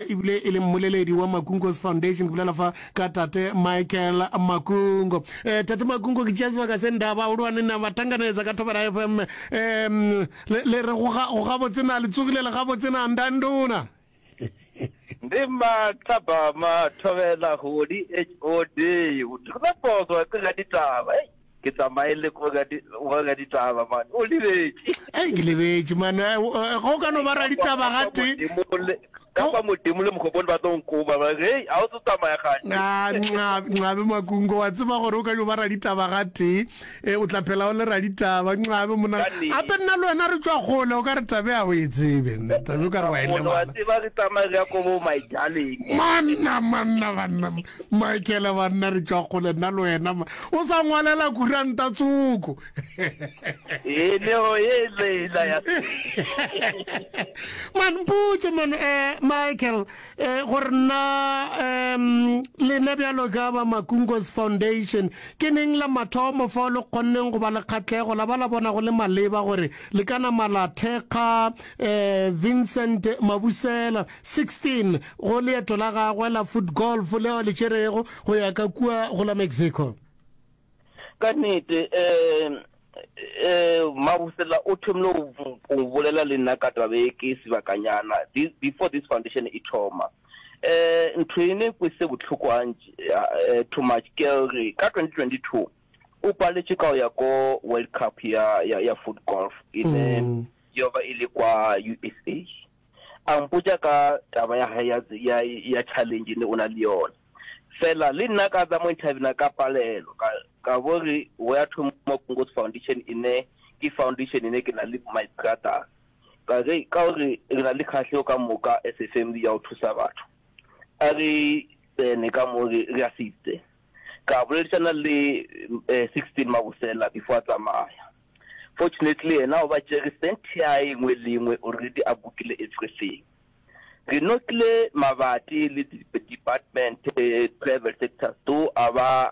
Ebile e le mmoleledi wa Makungo's Foundation, ke bolela fa ka Tate Michael Makungo. Eh, Tate Makungo, ke tšea sebaka se nda bagolwane na ba tanganetsa ka Thobela FM. Um, le, le re go ga, go gabotse na, le tsogile le gabotse na, ndandona? Ndi mathapama thobela hodi HOD o thula poso wa ke ga ditaba ei ke tsamaye le ko ga di go ga ditaba man o lebetše Ei, ke lebetše man. Eh, eh, Go ka no ba raditaba gate. Ka kwa Modimo le Mokgopone ba tlo nkoba ba re hei a o tlo tsamaya gante. Ah, Nxabe, Nxabe Makungo, wa tseba gore o ka yo ba raditaba gatee, eh, o tla phela o le raditaba. Nxabe monna, Ka nnete. gape nna le wena re tšwa kgole, o ka re tabe a o e tsebe nna, tabe o ka re wa e Wa lebala. tseba re tsamaya re ya ko bo my darling. Manna, manna, banna, Michael, banna re tšwa kgole nna le wena, ma. O sa ngwalela kuranta tsoko. E neo e leila ya Man mpotse man eh Michael eh gore nna um lena bjalo ka ba Makungos Foundation ke neng la mathomo fao le kgonneng go ba le kgatlego la ba la bona go le maleba gore le ka nama la thekga eh Vincent Mabusela 16 go leeto la gagwe la foot golf leo le tšerego go ya ka kua go la Mexico. Ka nnete, um um Mabusela o thomile go bolela le nna ka taba e ke sebakanyana this, before this foundation e thoma. Um ntho e ne kwese bohloko gantši eh, too much ke gore ka 2022 o paletše ka go ya ko World Cup ya ya ya foot golf e ne mm. yo ba e le kwa USA. A mpotša ka taba ya hae ya ya ya challenge ne o na le yona. Fela le nna ka tsa mo interview ka palelo ka ka bo re we ya thoma Kongos Foundation ine ke foundation ine ke na le my brothers ka re ka gore re na le kgahlego ka moka as a family ya go thusa batho a re tsene ka mo re re assiste ka boledišana le 16 eh, Mabusela before a tsamaya fortunately yena o ba tšere cent ya engwe le engwe already a bookile everything Re nokile mabati le di-department, private sectors though a ba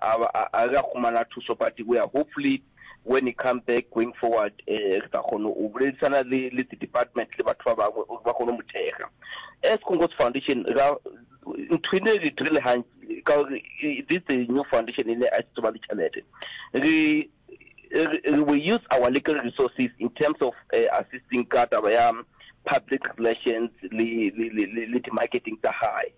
a re a humana thuso but we are hopefully when he come back going forward re tla kgona go boledisana le le di-department le batho ba bangwe gore ba kgone go mo thekga. As Kongos Foundation ra ntho ene re dirile gantsi ka gore this is a new foundation ene a se ba le tšhelete re we use our little resources in terms of uh, assisting ka taba ya public relations le le le le di-marketing tsa gae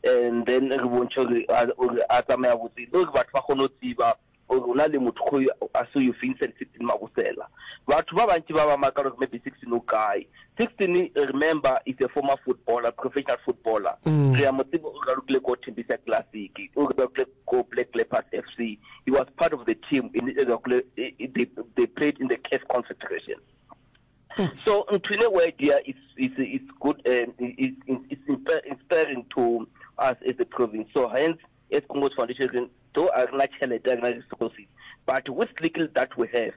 and then re bontšhe gore a tsamaya botse le gore batho ba kgone go tseba gore o na le motho go a se yo Vincent 16 Mabosela batho ba bantši ba ba makala gore maybe 16 o kae 16 remember is a former footballer professional footballer mm. re a mo tseba o ralokile ko Tembisa Classic o ralokile ko Black Leopards FC. He was part of the team in they, they played in the CAF Confederation. Hmm. So Ntwine idea is is is good um, is is inspiring to us as a province. So hence as Kongos Foundation though a rena tšhelete a rena resources but with little that we have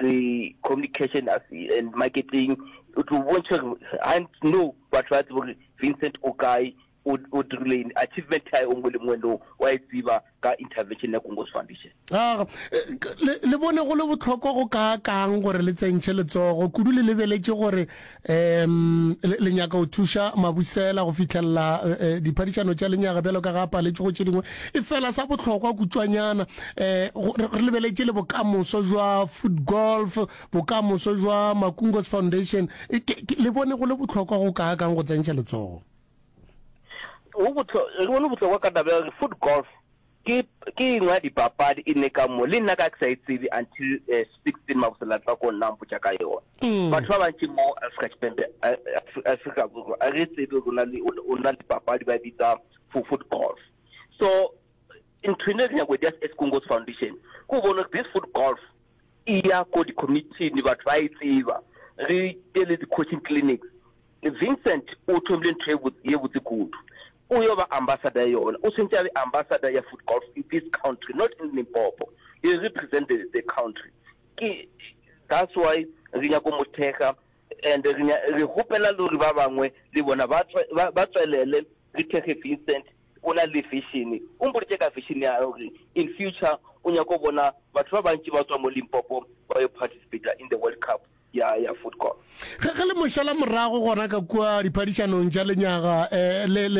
re communication as and marketing o tlo bontšha gore no batho ba tsebe gore Vincent o kae O, o dirile eng? Achievement ya o nngwe le nngwe no wa e tseba ka intervention ya Kongos Foundation. Aga, le, le bone go le bohlokwa go kaakang gore le tsentšhe letsogo, kudu le lebeletše gore um le, le nyaka go thuša Mabusela go fihlelela eh, diphadišano tša lenyaga bjalo ka ga a paletše go tše dingwe. Efela sa bohlokwa kutšwanyana, eh, go, re, re lebeletše le bokamoso jwa foot golf, bokamoso jwa Makungos Foundation. E, ke, ke, le bone go le bohlokwa go kaakang go tsentšha letsogo? Go bohlo, re bone bohlokwa ka taba ya gore foot golf ke ke engwe ya dipapadi e ne ka mo le nna ka ke sa e tsebe until eh, 16 Mabusela tla ko nna mpotša ka yona. Mm. Batho ba bantši mo Afrika Tshipembe eh, Afrika Borwa a re tsebe gore o na le o na le papadi ba e bitsa for foot golf. So ntho ene re nyako just as Kongos Foundation ko bona gore this foot golf e ya ko di-community batho ba e tseba re tele di-coaching clinics Vincent o thomile ntho ye botse kudu. O yo ba ambassador ya yona. O tshwanetse a be ambassador ya foot golf in this country, not in Limpopo. He represent the, the country. Ke that's why re nyako mo thekga and re re hopela le gore ba bangwe le bona ba ba tswelele re thekge Vincent o na le vision. O mpoditše ka vision ya gore in future o nyako bona batho ba bantši ba tswa mo Limpopo ba yo participate in the World Cup. ya ya Foodcorp. Ge ge le mo šala morago gona ka kua diphadišanong tša lenyaga eh, le le.